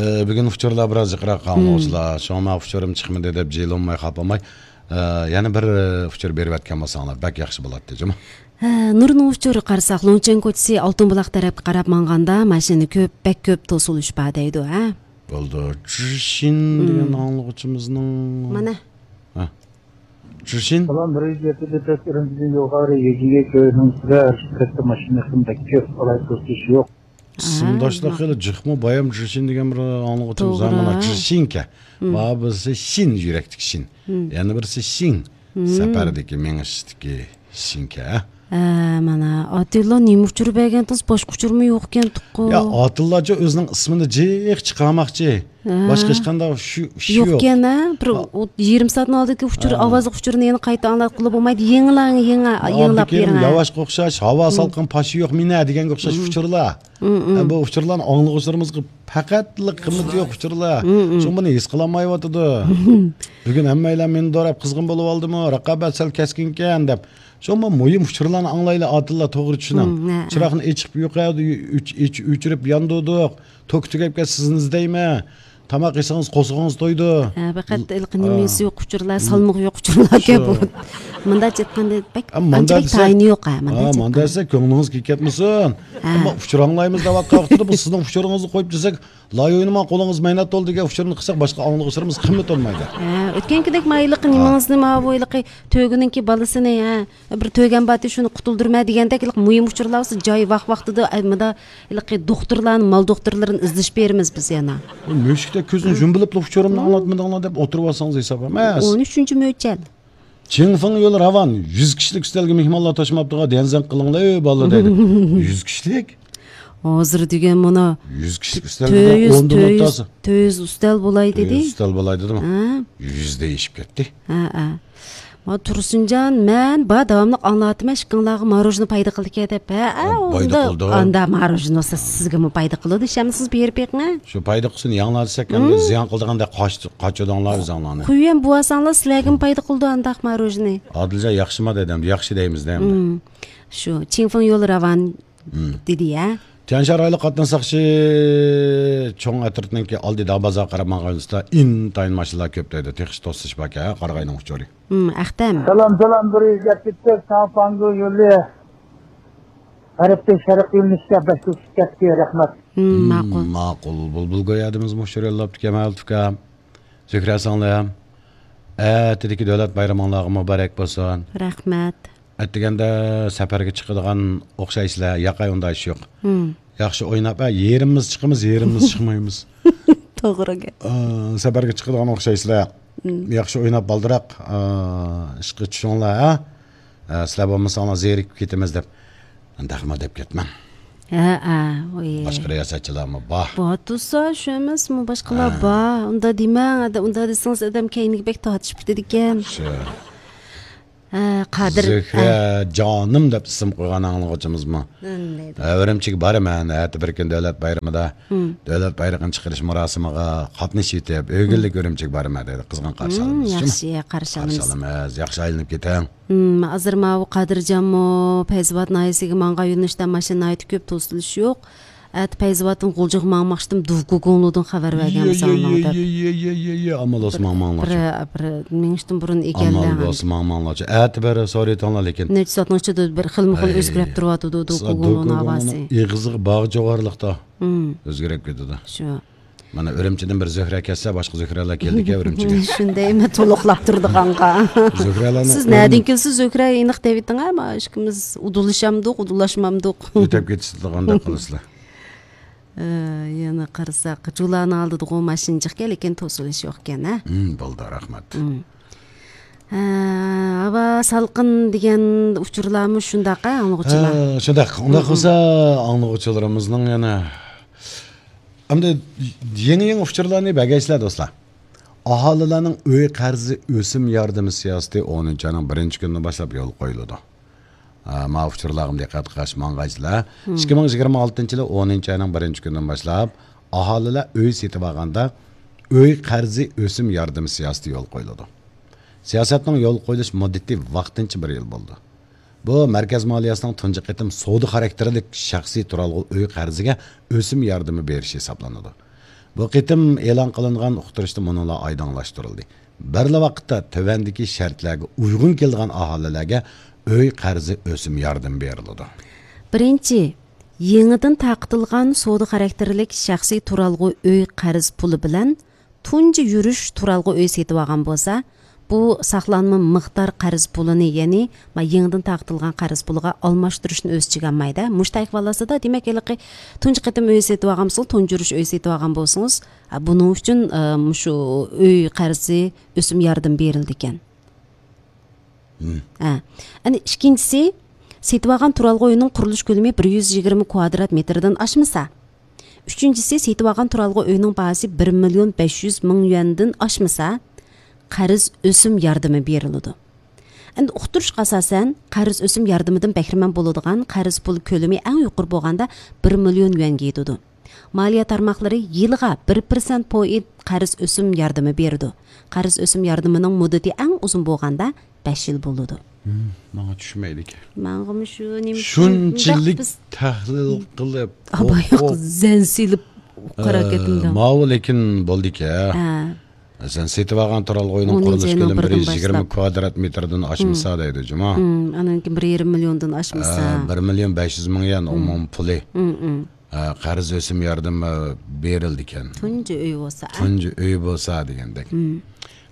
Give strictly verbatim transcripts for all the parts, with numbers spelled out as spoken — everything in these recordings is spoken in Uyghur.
ئە، بۈگۈن ئۇچۇرلار بىراز جىقراق، ئاڭلىغۇچىلار. شۇڭا مانا ئۇچۇرۇم چىقمىدى دەپ جىلىنماي خاپىماي، ئە، يەنە بىر، ئە، ئۇچۇر بېرىۋەتكەن بولساڭلار بەك ياخشى بولاتتى، جۇمۇ. ھە، نۇرنىڭ ئۇچۇرىغا قارىساق، لۇڭچىڭ كوچىسى ئالتۇن بۇلاق تەرەپكە قاراپ ماڭغاندا ماشىنا كۆپ، بەك كۆپ توسۇلۇش بار دەيدۇ، ھە؟ بولدى. جىشىن دېگەن ئاڭلىغۇچىمىزنىڭ. مانا. ھە. جىشىن. سالام، بىر يۈز يەتتە دەپ ئۈرۈمچىدىن يوقارى يېگىگە كۆينىڭ سىرە ھەرىكەتتە ماشىنا بەك كۆپ، قالاي توسۇش يوق. ئىسىمداشلار خېلى جىقمۇ، بايام جىشىن دېگەن بىر ئاڭلىغۇچىمىز بار. مانا جىشىنكەن. مانا بىرسى شىن، يۈرەكتىكى شىن. يەنە بىرسى شىڭ، سەپەردىكى، مېڭىشتىكى شىنكەن. ھە، مانا ئاتىللا نېمە ئۇچۇر بەرگەنتىڭىز؟ باشقا ئۇچۇرمۇ يوقكەنتۇققۇ؟ يا، ئاتىللاچۇ ئۆزىنىڭ ئىسمىنى جىق چىقارماقچى. ھە. باشقا ھېچقانداق شۇ ئىشى يوق. يوقكەن، ھە؟ بىر ئوت-، يېرىم سائەتنىڭ ئالدىدىكى ئۇچۇر، ھە. ئاۋازلىق ئۇچۇرنى يەنە قايتا ئاڭلاتقىلى بولمايدۇ. يېڭىلاڭ، يېڭى، يېڭىلاپ بېرىڭ، ھە. ياۋاشقا ئوخشاش، ھاۋا سالقىن، پاشا يوق، مېنە دېگەنگە ئوخشاش ئۇچۇرلار. ھە، بۇ ئۇچۇرلارنى ئاڭلىغۇچىلىرىمىزغا پەقەتلا قىممىتى يوق ئۇچۇرلار. شۇڭا بۇنى ھېس قىلالمايۋاتىدۇ. بۈگۈن ھەممەيلەن مېنى دوراپ قىزغىن بولۇۋالدىمۇ، رىقابەت سەل كەسكىنكەن دەپ. شۇڭا مۇھىم ئۇچۇرلارنى ئاڭلايلى، ئادىللا توغرا چۈشىنىڭ. ھە، ھە. چىراغنى ئېچىپ يوقايدۇ، ئۆچ-، ئۆچ-، ئۆچۈرۈپ ياندۇردۇق. توكى تۈگەپ كەتسە سىزنى ئىزدەيمەن. تاماق يېسىڭىز قورسىقىڭىز تويىدۇ. ھە، پەقەت ھېلىقى نېمىسى يوق ئۇچۇرلار، سالمىقى يوق ئۇچۇرلاركەن بۇ. مۇنداق ئېيتقاندا بەك، ئانچە بەك تايىنى يوق، ھە، مۇنداق ئېيتقاندا. مۇنداق دېسە كۆڭلىڭىز كېلىپ كەتمىسۇن. ھە. ئەمما ئۇچۇر ئاڭلايمىز دەۋاتقان ۋاقتىدا بىز سىزنىڭ ئۇچۇرىڭىزنى قويۇپ دېسەك، لاي ئوينىما، قولىڭىز مەينەت تولدى دېگەن ئۇچۇرنى قىلساق، باشقا ئاڭلىغۇچىلىرىمىز قىممەت بولمايدۇ. ھە، ئۆتكەنكىدەك ما ھېلىقى نېمىڭىزنى، ماۋۇ ھېلىقى تۆگىنىڭكى بالىسىنى، ھە، بىر تۆگەم بارتى، شۇنى قۇتۇلدۇرىمەن دېگەندەك، ھېلىقى مۇھىم ئۇچۇرلار بولسا جاي ۋاق ۋاقتىدا، ئە، مۇندا ھېلىقى دوختۇرلارنى، مال دوختۇرلىرىنى ئىزدىشىپ بېرىمىز بىز يەنە. مۇشۇكتەك كۆزنى يۇمۇپ بۇ ئۇچۇرۇمنى ئاڭلاتمىدىڭلار دەپ ئولتۇرۇۋالسىڭىز ھېساب ئەمەس. ئون ئۈچىنچى مۆچەل. چىڭفېڭ يول راۋان، يۈز كىشىلىك ئۈستەلگە مېھمانلار توشماپتىغۇ، ديەنزەن قىلىڭلار، ئۇ بالىلار دەيدۇ. يۈز كىشىلىك؟ ھازىر دېگەن مانا يۈز كىشىلىك ئۈستەلگە تۆت يۈز، ئوندىن تۆت يۈز، ئولتۇرسا. تۆت يۈز ئۈستەل بولاي دېدى. تۆت يۈز ئۈستەل بولاي دېدىمۇ؟ ھە. يۈزدە ئېشىپ كەتتى. ھە، ھە. ما تۇرسۇنجان، مەن بار داۋاملىق ئاڭلاۋاتىمەن، ئىككىڭلارغا ماروژنا پايدا قىلىدىكەن دەپ. ھە، ھە، پايدا ئۇندا، قىلىدۇ. ئاندا ماروژنا بولسا سىزگىمۇ پايدا قىلىدۇ، ئىشەنمىسىڭىز بېرىپ بېقىڭ. شۇ پايدا قىلسۇن، ياڭلار دېسەك، ئەمدى زىيان قىلىدىغاندەك قاچ-، قاچىدىڭلار ئۆزۈڭلارنى. قويۇۋەن بوۋاساڭلار، سىلەرگىمۇ پايدا قىلىدۇ ئانداق ماروژنا. ئادىلجان ياخشىما دېدى، ياخشى دەيمىز دە ئەمدى. شۇ، چىڭفېڭ يول راۋان دېدى يا. تيەنشان رايونلۇق قاتناش ساقچى چوڭ ئەترىتىنىڭكى ئالدى داڭ بازارغا قاراپ ماڭغان يولدا ئىنتايىن ماشىنىلار كۆپ دەيدۇ. تېخىچە توسۇلۇش باركەن، ھە، قارىغاينىڭ ئۇچۇرى. ھىم، ئەختەم. سالام، سالام، بىر يۈز يەتتە تۆت ساڭ پاڭگۇ يولى. غەربتىن شەرققە يۆنىلىشكە بەش يۈز كەتتى، رەھمەت. ھىم، ماقۇل. ماقۇل، بۇلبۇل گويا دېمىز مۇشۇ يوللاپتىكەن، مەلۇت ئۇكام. زۆھرە سىڭلىم، ئەتىدىكى دۆلەت بايرىمىڭلارغا مۇبارەك بولسۇن. رەھمەت. ئەتىگەندە سەپەرگە چىقىدىغان ئوخشايسىلەر، ياقەي ئۇنداق ئىش يوق. ھىم. ياخشى ئويناپ، ئە، يېرىمىمىز چىقىمىز، يېرىمىمىز چىقمايمىز. توغرا گەپ. ئا، سەپەرگە چىقىدىغان ئوخشايسىلەر. ھىم. ياخشى ئويناپ بالدۇراق، ئا، ئىشقا چۈشۈڭلار، ھە؟ ئا، سىلەر بولمىساڭلار زېرىكىپ كېتىمىز دەپ. ئۇنداقمۇ دەپ كەتمەڭ. ھە، ھە، ئۇي. باشقا رىياسەتچىلەرمۇ بار. بار تۇرسا، شۇ ئەمەسمۇ، باشقىلار بار. ئۇنداق دېمەڭ، ئادە-، ئۇنداق دېسىڭىز، ئادەم كەينىگە بەك تارتىشىپ كېتىدىكەن. شۇ. ھە، قادىر، زۆھرە ھە. جانىم دەپ ئىسىم قويغان ئاڭلىغۇچىمىزمۇ. ھە، ئۈرۈمچىگە بارىمەن، ئەتە بىر كۈن دۆلەت بايرىمىدا. ھىم. دۆلەت بايرىقىنى چىقىرىش مۇراسىمىغا قاتنىشىۋېتىپ، ئۆگۈنلۈك ئۈرۈمچىگە بارىمەن دەيدۇ. قىزغىن قارشى ئالىمىز. ھىم، ياخشى، قارشى ئالىمىز. قارشى ئالىمىز. ياخشى ئايلىنىپ كېتىڭ. ھىم، ھازىر ماۋۇ قادىرجانمۇ پەيزىۋات ناھىيەسىگە ماڭغان يۆنىلىشتە ماشىنا ناھايىتى كۆپ، توسۇلۇش يوق. ئەتە پەيزىۋاتتىن غۇلجىغا ماڭماقچىدىم، دۇفگۇگۇڭلۇدىن خەۋەر بەرگەن بولساڭلار دەپ. ئامال بولسا ماڭماڭلار. بىر، بىر مېڭىشتىن بۇرۇن ئىگىلەڭ. ئامال بولسا ماڭماڭلارچۇ. ئەتە بېرىپ سورىۋېتىڭلار لېكىن. نەچچە سائەتنىڭ ئىچىدە بىر خىلمۇ خىل ئۆزگىرىپ تۇرۇۋاتىدۇ، دۇفگۇگۇڭلۇنىڭ ئاۋازى. ئېغىزىغا باغ جوغارلىقتا ئۆزگىرىپ كېتىدۇ. شۇ. مانا ئۈرۈمچىدىن بىر زۆھرە كەتسە، باشقا زۆھرەلەر كېلىدىكەن ئۈرۈمچىگە. شۇنداي، مەن تولۇقلاپ تۇردۇق ئاڭغا. زۆھرەلەرنىڭ سىز نەدىن كېلىسىز زۆھرە ئېنىق دەۋېتىڭ، ھە؟ مانا ئىككىمىز ئۇدۇللىشامدۇق، ئۇدۇللاشمامدۇق. ئۆتەپ كېتىشىدىغاندەك قىلىسىلەر. ئە، يەنە قارىساق، جۇلانىڭ ئالدىدىغۇ ماشىنا جىقكەن، لېكىن توسۇلۇش يوقكەن، ھە؟ ھىم، بولدى، رەھمەت. ھىم. ھە، ھاۋا سالقىن دېگەن ئۇچۇرلارمۇ شۇنداق، ھە، ئاڭلىغۇچىلار؟ ھە، شۇنداق. ئۇنداق بولسا، ئاڭلىغۇچىلىرىمىزنىڭ يەنە ئەمدى يېڭى-يېڭى ئۇچۇرلارنى بەرگەيسىلەر، دوستلار. ئاھالىلەرنىڭ ئۆي قەرزى ئۆسۈم ياردىمى سىياسىتى ئونىنچى ئاينىڭ بىرىنچى كۈنىدىن باشلاپ يولغا قويۇلىدۇ. ھە، ماۋۇ ئۇچۇرلارغا دىققەت قىلىش ماڭغايسىلەر. ئىككى مىڭ يىگىرمە ئالتىنچى يىلى ئونىنچى ئاينىڭ بىرىنچى كۈنىدىن باشلاپ ئاھالىلەر ئۆي سېتىۋالغاندا ئۆي قەرزى ئۆسۈم ياردىمى سىياسىتى يولغا قويۇلىدۇ. سىياسەتنىڭ يولغا قويۇلۇش مۇددىتى ۋاقتىنچە بىر يىل بولىدۇ. بۇ مەركەز مالىيەسىنىڭ تۇنجى قېتىم سودا خاراكتېرلىك شەخسىي تۇرالغۇ ئۆي قەرزىگە ئۆسۈم ياردىمى بېرىشى ھېسابلىنىدۇ. بۇ قېتىم ئېلان قىلىنغان ئۇقتۇرۇشتا مۇنۇلار ئايدىڭلاشتۇرۇلدى. بىرلا ۋاقىتتا تۆۋەندىكى شەرتلەرگە ئۇيغۇن كېلىدىغان ئاھالىلەرگە ئۆي قەرزى ئۆسۈم ياردىمى بېرىلىدۇ. بىرىنچى، يېڭىدىن تارقىتىلغان سودا خاراكتېرلىك شەخسىي تۇرالغۇ ئۆي قەرز پۇلى بىلەن تۇنجى يۈرۈش تۇرالغۇ ئۆي سېتىۋالغان بولسا، بۇ ساقلانما مىقدار قەرز پۇلىنى، يەنى ما يېڭىدىن تارقىتىلغان قەرز پۇلىغا ئالماشتۇرۇشنى ئۆز ئىچىگە ئالمايدۇ. مۇشۇ تايقىۋالاسىدا، دېمەك، ھېلىقى تۇنجى قېتىم ئۆي سېتىۋالغان بولسىڭىز، تۇنجى يۈرۈش ئۆي سېتىۋالغان بولسىڭىز، ھە، بۇنىڭ ئۈچۈن، ئە، مۇشۇ ئۆي قەرزى ئۆسۈم ياردىمى بېرىلىدىكەن. ھە. ئەنە ئىككىنچىسى، سېتىۋالغان تۇرالغۇ ئۆينىڭ قۇرۇلۇش كۆلىمى بىر يۈز يىگىرمە كۋادرات مېتىردىن ئاشمىسا. ئۈچىنچىسى، سېتىۋالغان تۇرالغۇ ئۆينىڭ باھاسى بىر مىليون بەش يۈز مىڭ يۈەندىن ئاشمىسا، قەرز ئۆسۈم ياردىمى بېرىلىدۇ. ئەمدى ئۇقتۇرۇشقا ئاساسەن، قەرز ئۆسۈم ياردىمىدىن بەھرىمەن بولىدىغان قەرز پۇل كۆلىمى ئەڭ يۇقىرى بولغاندا بىر مىليون يۈەنگە يېتىدۇ. مالىيە تارماقلىرى يىلىغا بىر پىرسەنت پوئىنت قەرز ئۆسۈم ياردىمى بېرىدۇ. قەرز ئۆسۈم ياردىمىنىڭ مۇددىتى ئەڭ ئۇزۇن بولغاندا بەش يىل بولىدۇ. ماڭا چۈشمەيدىكەن. ماڭىمۇ شۇ نېمە شۇنچىلىك تەھلىل قىلىپ، ئاباياق زەن سېلىپ قاراپ كەتتىم. ماۋۇ لېكىن بولدىكەن. ھە. سەن سېتىۋالغان تۇرالغۇ ئۆينىڭ قۇرۇلۇش كۆلىمى بىر يۈز يىگىرمە كۋادرات مېتىردىن ئاشمىسا دەيدۇ جۇما. ئانان كېيىن بىر يېرىم مىليوندىن ئاشمىسا. بىر مىليون بەش يۈز مىڭ يۈەن ئومۇمىي پۇلى. ھە، قەرز ئۆسۈم ياردىمى بېرىلىدىكەن. تۇنجى ئۆي بولسا. تۇنجى ئۆي بولسا دېگەندەك.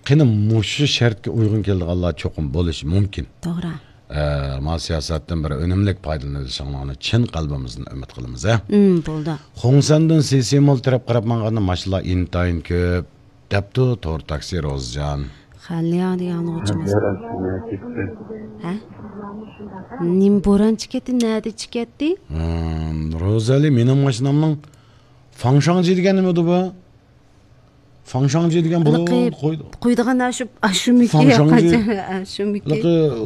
قېنى مۇشۇ شەرتكە ئۇيغۇن كېلىدىغانلار چوقۇم بولۇشى مۇمكىن. توغرا. ئە، ما سىياسەتتىن بىر ئۈنۈملۈك پايدىلىنىشىڭلارنى چىن قەلبىمىزدىن ئۈمىد قىلىمىز، ھە؟ ئىم، بولدى. خۇڭسەندىن سىسىمول تەرەپ قاراپ ماڭغاندا ماشىنىلار ئىنتايىن كۆپ، دەپتۇ تور تاكسى روزىجان. خەنلىياڭ دېگەن ئاڭلىغۇچىمىز. ھە؟ نېمە بوران چىكەتتى، نەدە چىكەتتى؟ ھىم، روزەلى، مېنىڭ ماشىنامنىڭ فاڭشاڭجى دېگەن نېمىدۇ بۇ؟ فاڭشاڭجى دېگەن بۇ قويدى. قويىدىغان ئاشۇ، ئاشۇمىكى، فاڭشاڭجى. ئاشۇمىكى.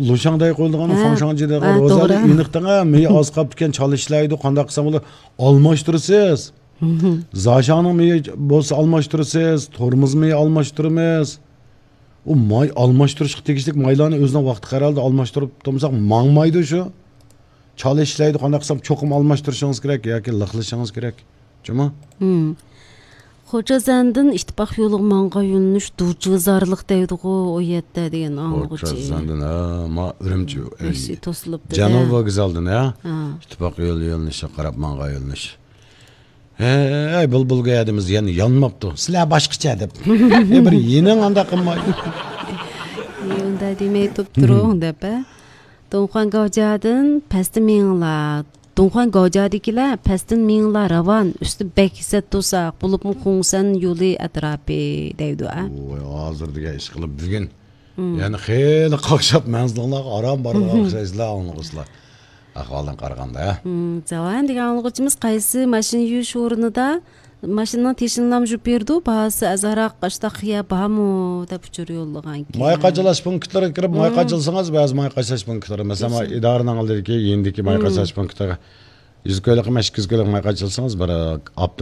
لۇشاڭداي قويۇلىدىغان فاڭشاڭجى دېگەن. ھە، روزەلى، توغرا. ئېنىق دەڭە، مېيى ئاز قاپتىكەن، چالا ئىشلەيدۇ، قانداق قىلسام بولىدۇ؟ ئالماشتۇرىسىز. زاشاڭنىڭ مېيى بولسا ئالماشتۇرىسىز، تورمۇز مېيى ئالماشتۇرىمىز. ئۇ ماي ئالماشتۇرۇشقا تېگىشلىك مايلارنى ئۆزىنىڭ ۋاقتى قەرەلدە ئالماشتۇرۇپ تۇرمىساق ماڭمايدۇ شۇ. چالا ئىشلەيدۇ، قانداق قىلسام چوقۇم ئالماشتۇرۇشىڭىز كېرەك ياكى لىقلىشىڭىز كېرەك. جۇمۇ؟ خوجازەندىن ئىتتىپاق يولىغا ماڭغان يۆنىلىش دۇرجىۋىزارلىق دەيدىغۇ، ئۇ يەردە دېگەن ئاڭلىغۇچى. خوجازەندىن، ھە، ما ئۈرۈمچى، ئەي، توسۇلۇپتۇ جەنۇبىي ۋوگزالدىن، ھە؟ ھە. ئىتتىپاق يولى يۆنىلىشىگە قاراپ ماڭغان يۆنىلىش. ھەي، بۇلبۇلگە ھەدىمىز يەنە يانماپتۇ. سىلەر باشقىچە دەپ. ئەي، بىر يېنىڭ ئانداق قىلماي. ئۇنداق دېمەي تۇرۇپ تۇرۇڭ دەپ، ھە. دۇڭخۇەن گاۋجيادىن پەستىن مېڭىڭلار. دۇڭخۇەن گاۋجيادىكىلەر پەستىن مېڭىڭلار راۋان، ئۈستى بەك ھېسەت توساق، بولۇپمۇ خۇڭسەن يولى ئەتراپى دەيدۇ، ئە. ۋاي، ھازىر دېگەن ئىش قىلىپ بۈگۈن. يەنى خېلى قاقشاپ مەنزىلىڭلارغا ئاران بارىدىغان ئوخشايسىلەر، ئاڭلىغۇچىلار. ئەھۋالدىن قارىغاندا، ھە؟ زاۋان دېگەن ئاڭلىغۇچىمىز قايسى ماشىنا يۇيۇش ئورنىدا ماشىنىنىڭ تېشىنى لامژۇپ بېرىدۇ، باھاسى ئازراق، ئاشتاق خىيا بارمۇ دەپ ئۇچۇر يوللىغانىكەن. ماي قاچىلاش پونكىتلىرىغا كىرىپ ماي قاچىلىسىڭىز، بەزى ماي قاچىلاش پونكىتلىرى، مەسىلەن، ئىدارىنىڭ ئالدىدىكى يېنىدىكى ماي قاچىلاش پونكىتىغا يۈز كويلۇق ئەمەس، ئىككى يۈز كويلۇق ماي قاچىلىسىڭىز، بىر ئاپتومات